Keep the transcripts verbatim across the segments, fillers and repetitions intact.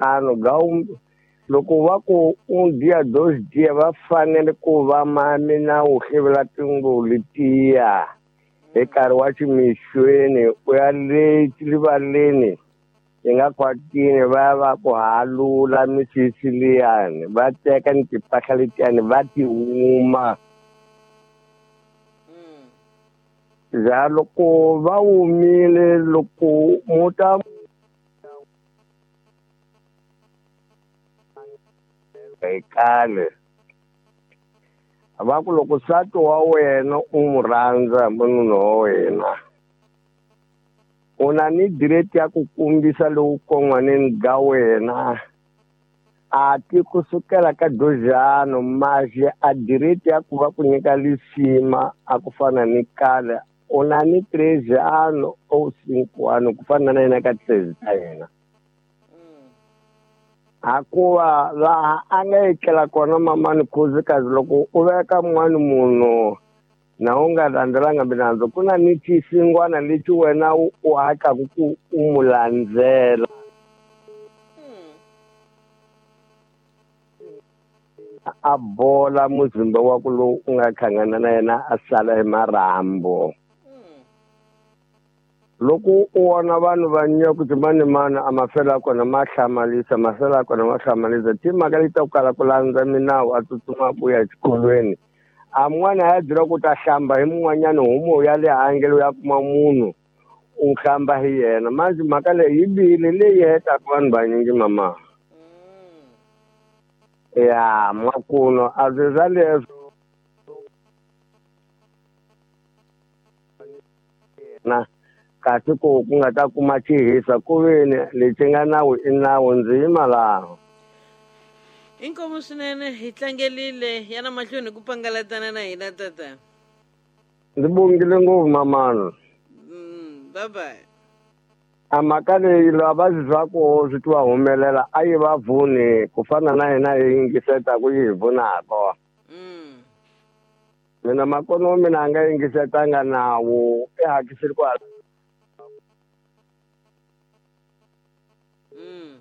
ano ga loko va ku un dia dos dia va fanele ku va mami na u hlevela tinguvu letiya hi nkarhi wa ximixweni u ya le rivaleni hi nga kwatini va ya va ku halula misisi liyani va teka ni timpahla letiyani va ti huma ja loko va humile loko muta hi kale va ku loko nsati wa wena u n'wi rhandza munhu wa wena u na ni direct ya ku kombisa lowu kon'waneni ga wena a ti kusukela ka dojano maje a direct ya ku va ku nyika lisima a ku fana ni kale u na ni três anos ou cinco anos ku fana na yena ka três ta yena hakuva laha a nga etlela kona mamani khuzikazi loko u veka mun'wani munhu na u nga landzelanga milandzu ku na ni xisingwana lexi wena u hatlaku ku u mu landzela a bola muzimba wa ku lowu u nga hlangana na yena a sala hi marhambu loko u vona vanhu va nyaku ti mani mani a mafela kona ma hlamalisa mafela kona ma hlamalisa timhaka leti ta ku kala ku landza minawu a tsutsuma ku ya exikolweni a mun'wana a ya byela ku ta hlamba hi mun'wanyana humo ya le handle ya kuma munhu u hlamba hi yena manje mhaka leyi yi bihile leyi hetaka vanhu vanyingi mama ya makuno a swi swa leswo na kasi ku ku nga ta kuma xihisa ku veni lexi nga nawu i nawu ndzi yima laha inkomu swinene hi tlangelile yana mahlweni ku pangalatana na hina tata ndzi bongile ngopfu mamana mm, bye bye a mhaka leyi lava va swi ku swi twa humelela a yi va vuni ku fana na hina hi yingisetaku yi hi vunaka mm. mina makono wa mina a nga yingisetanga nawu i hakisile ku mm.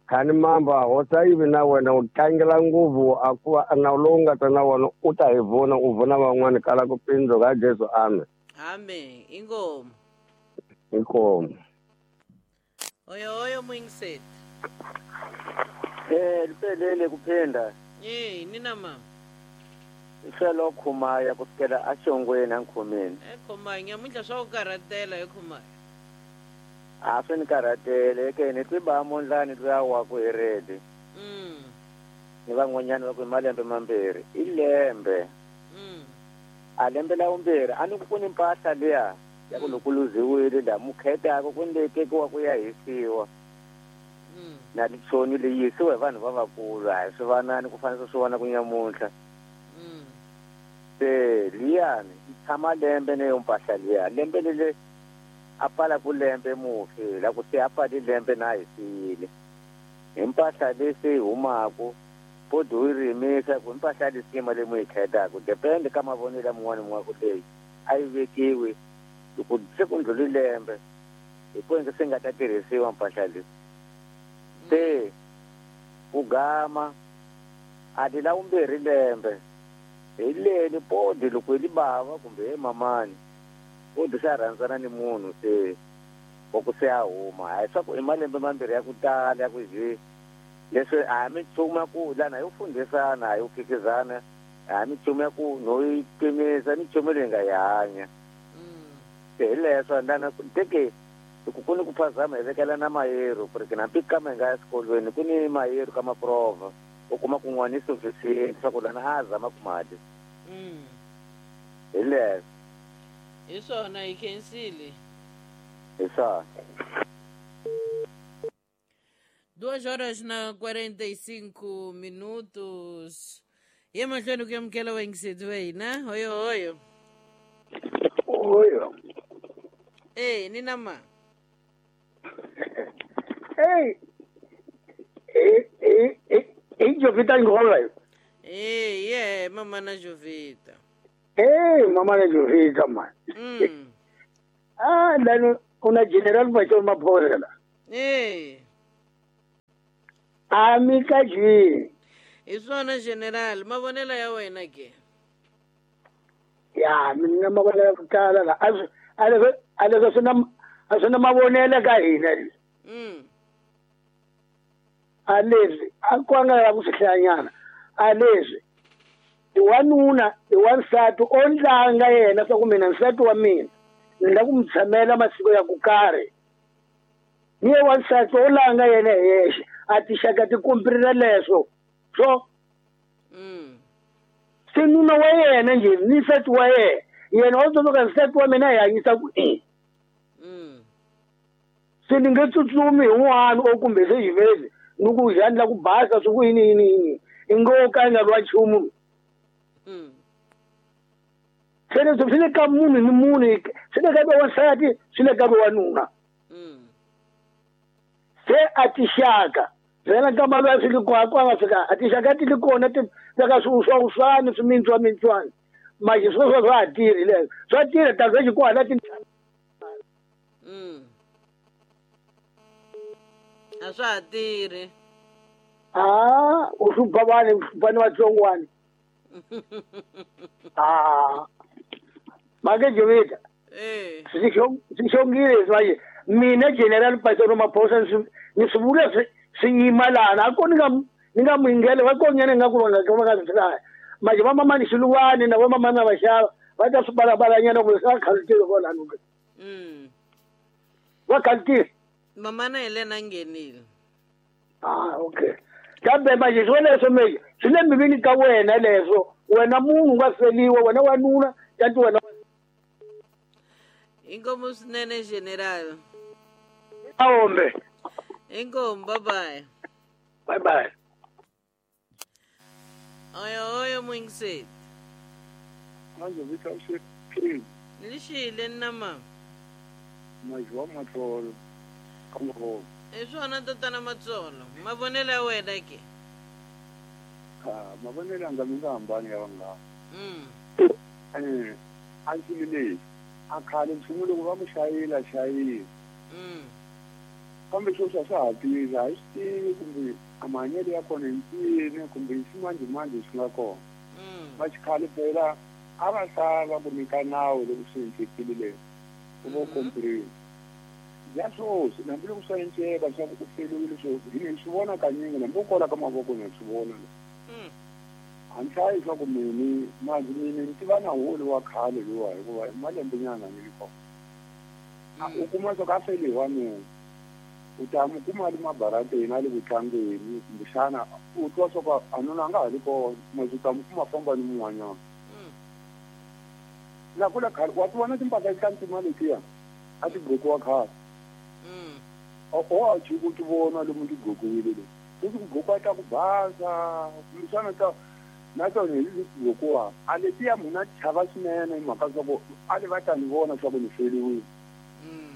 khani mamba hosa yivi na wena u tlangela ngopfu a ku va nawu lowu nga ta na wona u ta hi vona u vona van'wani kala ku pindzu ka Jesu amen amen inkomu inkomu oyo oyo muyingiseti eh liphelele kuphinda eh nina mama iselo khumaya kusukela axongweni ankhomeni e khumaya nyamuntlha swa ku karhatela he khumaya a swi ni karhatele ke ni twi ba mondlani luya wa ku hi redi mm. ni van'wanyana va ku hi malembe mambirhi i lembe mm. a lembe la vumbirhi a ni ku ku ni mpahla liya ya ku loko luziwile la mukhetaka ku ni leyi tekiwa ku ya hisiwa mm. na titsoni leyi hisiwa hi vanhu va vakulu a hi swi vanani ku fanele swi vona ku nyamuntlha mm. se liyani yi tshama lembe neyo mpahla liya lembe lele a pfala ku lembe mufi la ku se a pfali lembe na hisile hi mpahla leyi se yi humaku bodi u yi rimisa ku mpahla lisima leyi mu yi khetaku depende ka mavonelo ya mun'wana mun'wana ku leyi a yi vekiwi loko se ku ndlhuli lembe hi ku se nga ta tirhisiwa mpahla leyi se ku gama a ti la vumbirhi lembe hi leni bodi loko hi li bava kumbe he mamani bodi se a rhandzana ni munhu se wa ku se a huma hayi swa ku i malembe mambirhi ya ku tala ya ku je leswi a hi minchumu ya ku lana hi fundhisana a hi phikizana a hi minchumu ya ku no yi pimisa minchumu leyi nga yi hanya se hi leswo lana teke loko ku ni ku phazama hi vekela na mayero ku ri ke na mpikama hi nga ya xikolweni ku ni mayero ka maprova u kuma kun'wana i sufficient swa ku lana a zama ku mali hi leswo hi swona hi khensile hi swona Duas horas na quarenta e cinco minutos. E mahlweni ku amukela vayingiseti va hina hoyo hoyo Oyo. Eh, nina ma Hey. Eh eh eh eh Jovita Ngola. Eh, yeah, mama na Jovita. Eh, mama na Jovita man. Mm. Ah, lano una general Bachor Mapholela. Eh. A mi ka jini. Hi swona general, mavonelo ya wena ke? Ya, mina mavonelo ya ku tala la. A swi a leswi swi na a swi na mavonelo ka hina. Mm. A leswi a ku nga la ku swi hlayanyana. A leswi i wanuna i wansati o ndlanga yena swa ku mina nsati wa mina ni la ku mi tshamela masiku ya ku karhi. Ni ye wansati o langa yena hi yexe a tixaka ti kumpirila leswo so mm. Se nuna wa yena njhe ni nsati wa yena yena o tsundzuka nsati wa mina hi hanyisa ku yini. Mm. Se ni nge tsutsumi hi n'wana o kumbe se xivezi ni ku njhani la ku basa swi ku yini yini yini i ngo ka i nga ri wa nchumu. Mm. Se leswi swi le ka munhu ni munhu swi le ka wansati swi le ka wanuna. Mm. Se a tixaka vhela nkama loyi a fiki kona a nga fika a tixaka ti li kona ti veka swiuswauswani swimintswamintswani manje sweswo swa ha tirhi leswo swa tirha ta swa xikwana ti. Mm. A swa ha tirhi. Ah, u hlupha vanhu u hlupha ni vatsongwana. Ah. Make Jovita. Eh. Swi xongile leswi manje mina general Pastor Maphosa ni swi vula swi swi yima lana a ko ni nga ni nga muingele va konyana nga ku va nga va nga swi hlaya manje va mamani Xiluwani na va mamani na vaxava va ta swi balabalanyana ku swa khalutile kwalano. Mm. Va khalutile. Mamana Helena nghenile. Ah, okay. Kambe manje swo leswo manje swi le mbilwini ka wena leswo wena munhu nga feliwa wena wanuna kanti wena. Inkomu swinene general. Aombe. Inkomu, bye bye. Bye bye. Oyo oyo mwingiset. Manje vita ushe. Lixile na mama. Majwa matsolo. Kamho. I swona tatana Matsolo. Mavonelo ya wena ke? Ah, mavonelo anga mi nga hambani ya vanga. Mm. Eh, a ndzi leyi. A khale nchumu loko va ku xayila xayila. Mm. Kambe sweswi a swa ha tirhi a hi swi tivi kumbe a mahanyelo ya kona hi ncini kumbe hi ximanjhemanjhe swi nga kona. Mm. Va xikhale phela a va sala ku nyika nawu loko swi endlekile leswi ku vo kompriwa. Ya sweswi hambi loko swa enceka swa ku u feliwile sweswi hi ni swi vona kanyingi hambi u kola ka mavoko na swi vona. Mm. A ni hlayi swa ku mini manje mina ni tiva na wolo wa khale luwa hikuva i malembe nyana ni ri kona. U kuma swa ku a fele hi wanuna u ta mu kuma a li mabarateni a le ku tlangeni kumbexana u twa swa ku a nuna a nga ha ri kona manje u ta mu kuma famba ni mun'wanyana. Na kula khale wa ti vona timpahla ta ntima letiya a ti gqokiwa khale. Mm. O o a chi ku ti vona lomu ti gqokiwile le sweswi ku gqokiwa ta ku basa kumbexana ta na tona hi leti gqokiwa a letiya munhu a chava swinene hi mhaka swa ku a li va ta ni vona swa ku ni feliwile. Mm.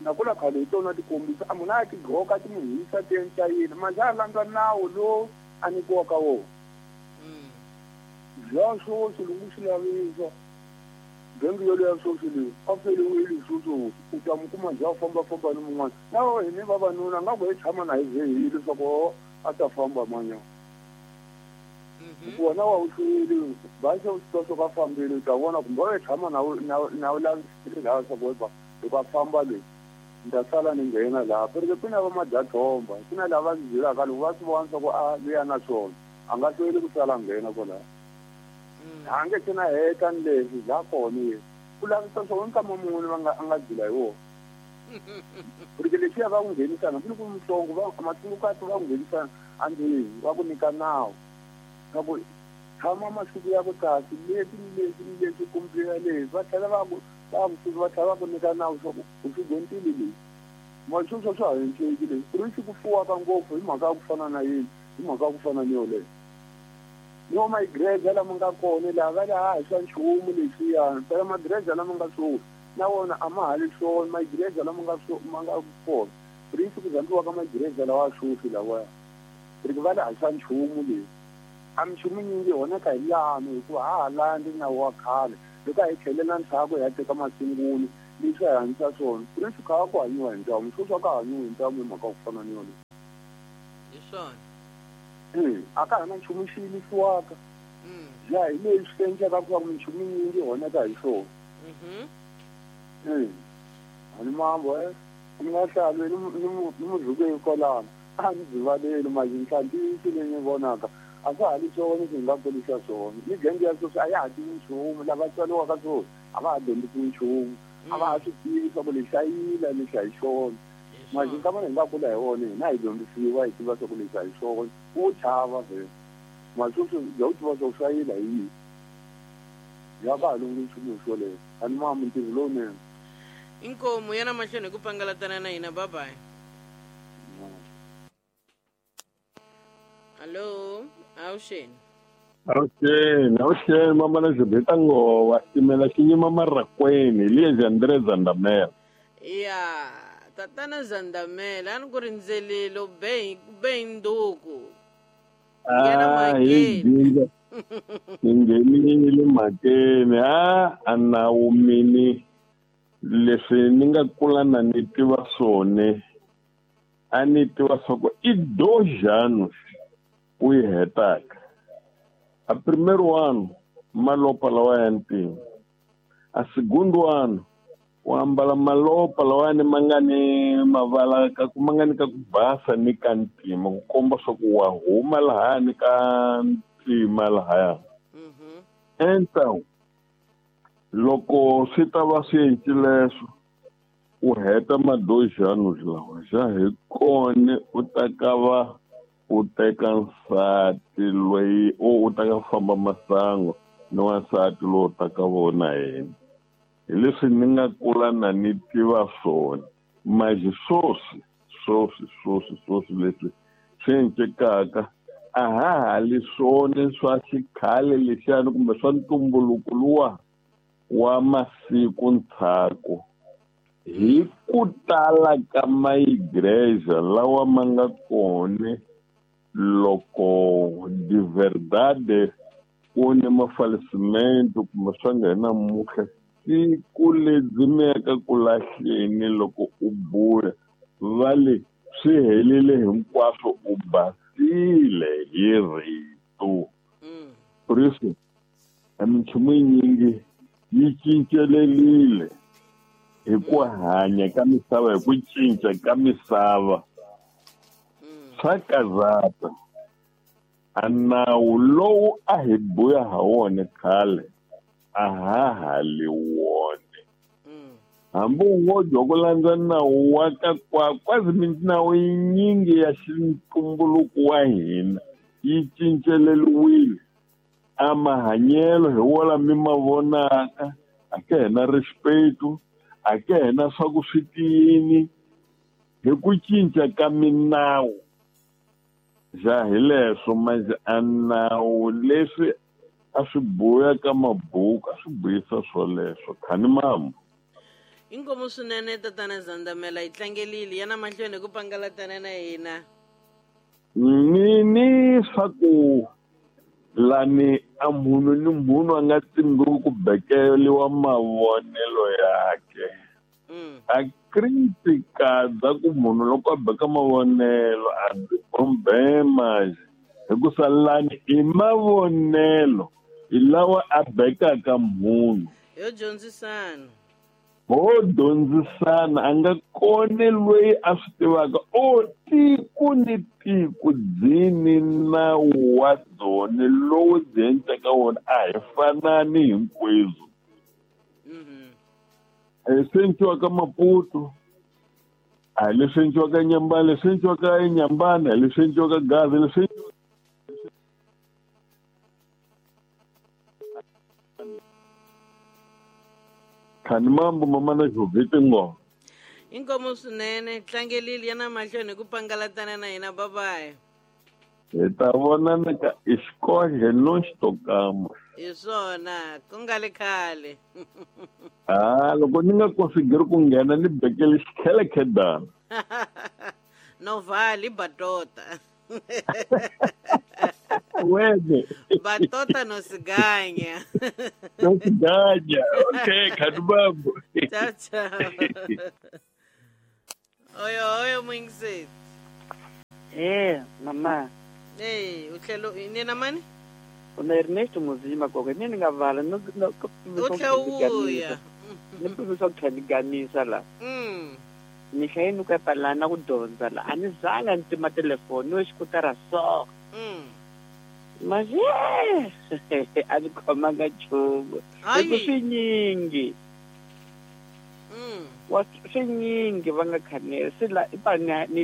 Na kula khale hi tona ti kombisa a munhu a ti gqoka ti mu hisa ti endla yini manje a landza nawu lowu a nyikiwaka wona. Mm. Bya sweswi loko swi lavisa genge yoleyo sweswi leyi a feliwile sweswi u ta mu kuma njhe a fambafamba ni mun'wana na hini vavanuna nga ku hi tshama na hi zehile leswaku a ta famba manyana. Mhm. Wona wa wu hlweli basi u twa swo ka fambile u ta vona kumbe u tshama na na na u lavisile laha swa ku loko a famba leyi ni ta sala ni nghena laha perike ku na va madyathomba ku na lava ndzi byelaka loko va swi vona swa ku a luya na swona a nga hlweli ku sala nghena kwalaho. A nge se na heta ni leswi la kona ye ku lavisa swona nkama munhu va nga a nga dzula hi wona. Porque lexiya va ku nghenisana hambi loko mutsongo va matsungukati va ku nghenisana andzeni va ku nyika nawu na ku tshama masiku ya ku kasi leswi ni leswi ni leswi kumbe leswi va tlhela va ku va ku va tlhela va ku nyika nawu swa ku u swi dyondzile leswi mali sweswo swa ha endleki leswi ku ri swi ku fuwaka ngopfu hi mhaka ya ku fana na yini hi mhaka ya ku fana ni yoleyo. Ni wa magreza lama nga kona laha va le ha swa nchumu leswiyani phela magreza lama nga swona na wona a ma ha li swona magreza lama nga ma nga kona risi ku zambiwa ka magreza lawa sweswi lawaya ri va le ha swa nchumu leswi a minchumu nyingi honeka hi lano hikuva ha ha landzi nawu wa khale loko a hi tlhelela ndzhaku hi ya teka masungulo leswi a hi hanyisa swona risi kha ku hanyiwa hi ntamu sweswi a ka hanyiwi hi ntamu hi mhaka ku fana ni yona. Hi swona. Eh, a ka ha na nchumu xi yimisiwaka. Ya hi leswi swi endlaka ku va minchumu yinyingi yi onhaka hi swona. Eh, a ni mambo eh, ni nga hlalweni ni ni muzukweni kwalano. A ni byi mazinhlantiso leyi ni vonaka a swa ha ri swona leswi hi nga kurisa swona. Migenge ya sweswi a ya ha tivi nchumu, lava tswariwaka swona a va ha dyondzisiwi nchumu, a va ha swi tivi swa ku lexi a yila lexi a hi xona. Mazinga mana hi nga kula hi wona hina hi dyondzisiwa hi tiva swa ku lexi a hi xona, wo chava vhele. Masweswi bya u tiva swa ku swa yila hi yini. Ya ka ha lunghi nchumu hi swoleswo. A ni mamu ntirho lowunene. Inkomu yana mahlweni hi ku pangalatana na hina, bye bye. Allo, awuxeni. Awuxeni, awuxeni mama na Jubita ngova ximela xi nyima marakweni liye Andre Zandamela. Ya, tatana Zandamela a ni ku rindzelile u be be nduku. Nghena mhakeni. Ni nghenile mhakeni a a nawu mini leswi ni nga kula na ni tiva swona a ni tiva swa ku i dois anos u yi hetaka. A primeiro ano malopa lawa ya ntima, a segundo ano u ambala malopa lawani ma nga ni mavala ka ku ma nga ni ka ku basa ni ka ntima ku komba swa ku wa huma lahani ka ntima lahaya. Então loko swi ta va swi encile leswo u heta ma dois anos lawa xa hi kona u ta ka va u teka nsati loyi u ta ka famba masangu ni wansati lowu ta ka vona yena. Hi leswi ni nga kula na ni tiva swona. Mas sweswi sweswi sweswi sweswi leswi swi encekaka a ha ha li swona swa xikhale lexiyani kumbe swa ntumbuluko luwa wa masiku ndzhaku hi ku tala ka maigreja lawa ma nga kona loko de verdade ku ni mafalecimento kumbe swa nga namuntlha siku lebyi mi yaka ku lahleni loko u buya va le swi helile hinkwaswo u basile hi rito. Por isso a minchumu yinyingi yi cincelelile hi ku hanya ka misava hi ku cinca ka misava. Swa karhata. A nawu lowu a hi buya ha wona khale a ha ha li wona. Hambi u ngo dya ku landza nawu wa ka kwa quase minawu yinyingi ya xintumbuluko wa hina yi cinceleliwile. A mahanyelo hi wona mi ma vonaka a ke hina respeto a ke hina swa ku swi tiyini hi ku cinca ka minawu. Ja hi leswo manje a nawu leswi a swi buya ka mabuku a swi buyisa swoleswo khani mambo. Inkomu swinene tatana Zandamela yi tlangelile yana mahlweni hi ku pangalatana na hina. Ni ni swa ku lani a munhu ni munhu a nga tsimbiwi ku bekeliwa mavonelo yakhe. A crítica bya ku munhu loko a beka mavonelo a byi problema hikusa lani i mavonelo hi lawa a bekaka munhu. Yo dyondzisana. Ho dyondzisana a nga kona loyi a swi tivaka o tiko ni tiko byi ni nawu wa byona lowu byi endlaka wona a hi fanani hinkwenu. Leswi endliwaka Maputo a hi leswi endliwaka Nyambana, leswi endliwaka eNyambana hi leswi endliwaka Gaza, leswi khani mambo mama na Jovita ngo. Inkomu swinene tlangelile yana mahlweni hi ku pangalatana na hina, bye bye. Hi ta vonana ka escoge nós tocamos. Hi swona ku nga le khale. Ah, loko ni nga consigiri ku nghena ni bekele xikhelekhedana. No vale batota. Wena. Batota no se ganha. No se ganha. Ok, cadubambo. Tchau, tchau. Oi, oi, Moinzito. Eh, mama. Eh, u tlhelo ni na mani? Una Ernesto Muzima gogo ni ni nga vala no no U tlhe u vuya. Ni pimisa ku tlhela ni ganisa la. Mm. Ni hlaye ni ku epalana ku dyondza la a ni zanga ni tima telefoni yo xikutara so. Mm. Manje a ni khomanga nchumu. Hayi. Hi ku swinyingi. Mm. Wa swinyingi va nga khanela se la i pa ni ni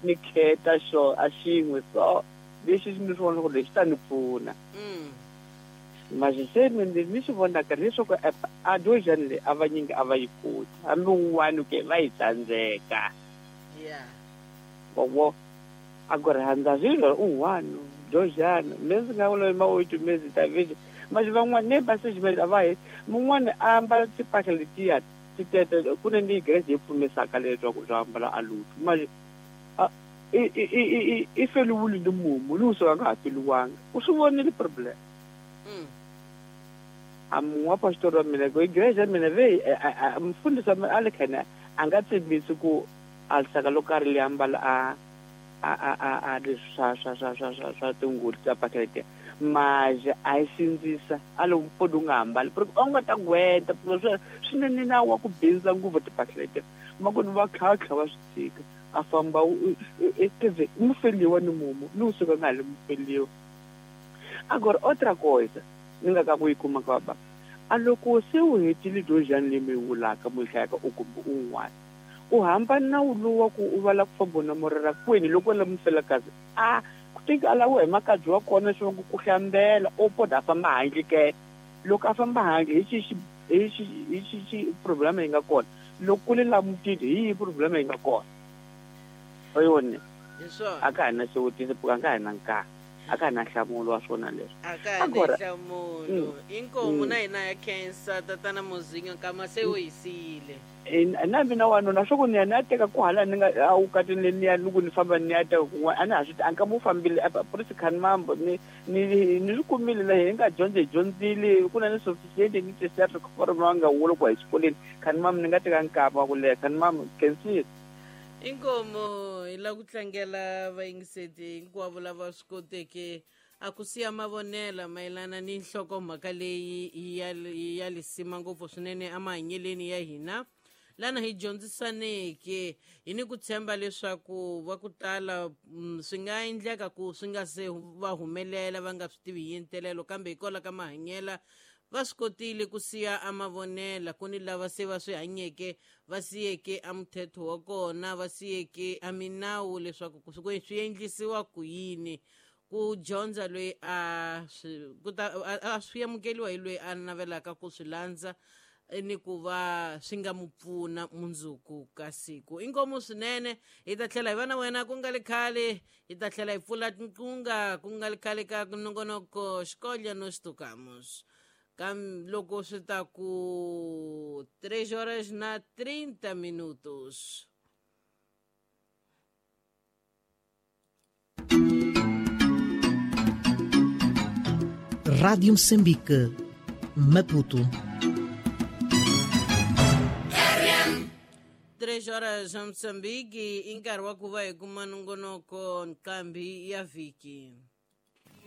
ni kheta xo a xin'we so lexi ni swi vona ku lexi ta ni pfuna. Mm. Manje se ni ni swi vonaka leswaku a dojani leyi a vanyingi a va yi koti hambi un'wana ke va yi tsandzeka. Yeah. Vovo a ku rhandza swilo un'wana dojani me ndzi nga vula mawuti me ndzi ta vile manje van'wana ne va sejimele a va he mun'wana a ambala timpahla letiya ti tete ku ne ni grace yi pfumisaka leswaku swa ambala a lutu manje a i i i i feliwile ni mumu ni usuka nga ha feliwanga u swi vonile problem. Mm. A mun'we wa pastor wa mina ku igreja ya mina ve mfundhisi wa mina a le khana a nga tshembisi ku a lisaka lo karhi li ambala a a a a a leswi swa swa swa swa swa swa tingulu ta pakete maje a yi sindzisa a lo mpfuni u nga hambali porque u nga ta gweta swi swinene na wa ku bindza nguvu tipakete ma ku ni va tlhatlha wa swi tshika a famba tive mufeliwa ni mumu ni usuka nga ha li mufeliwa. Agora outra coisa ni nga ka ku yi kuma ka baba a loko se u hetile dojani leyi mi yi vulaka mu yi hlayaka u kumbe un'wana u hambana na wu lowu wa ku u vala ku famba na morera kwini loko la mufelakazi a ku teki a laviwa hi makadzi wa kona swa ku ku hlambela u poda a famba handle ke loko a famba handle hi xi hi xi hi xi xi problema yi nga kona loko ku le la mutini hi yihi problema yi nga kona oyoni Hi swona. a ka ha na xivutiso a ka ha na nkarhi a ka ha na nhlamulo wa swona leswi. A ka ha na Agora nhlamulo. Mm. Inkomu Mm. na hina ya khensa tatana Muzinyo nkama se u hi siyile. Na mina wanuna swa ku ni ya ni ya teka ku hala ni nga a wukatini leyi ni ya ni ku ni famba ni ya teka kun'wana a ni ha swi a nkama wu fambile purisi khani mambo ni ni ni swi kumile la hi nga dyondza hi dyondzile ku na ni sophisticated ni tiseriform va nga wula ku hi xikolweni khani mambo ni nga teka nkama wa ku leha khani mambo khensile. Inkomu hi lava ku tlangela vayingiseti hinkwavo lava swi koteke a ku siya mavonela mayelana ni nhlokomhaka leyi ya ya lisima ngopfu swinene emahanyeleni ya hina lana hi dyondzisaneke hi ni ku tshemba leswaku va ku tala swi nga endleka ku swi nga se va humelela va nga swi tivi hi ntelelo kambe hikwalaho ka mahanyela va swi kotile ku siya amavonela ku ni lava se va swi hanyeke va siyeke a muthetho wa kona va siyeke a minawu leswaku swi endlisiwa ku yini ku dyondza loyi a swi ku ta a swi amukeliwa hi loyi a navelaka ku swi landza ni ku va swi nga mu pfuna mundzuku ka siku. Inkomu swinene hi ta tlhela hi va na wena ku nga le khale hi ta tlhela hi pfula tinqunga ku nga le khale ka nongonoko Xikolya no Xitukamus kam loko swi ta ku três horas na trinta minutos. Rádio Moçambique, Maputo. Três horas em Moçambique, i nkarhi wa ku va hi kuma nongonoko nqambi ya vhiki.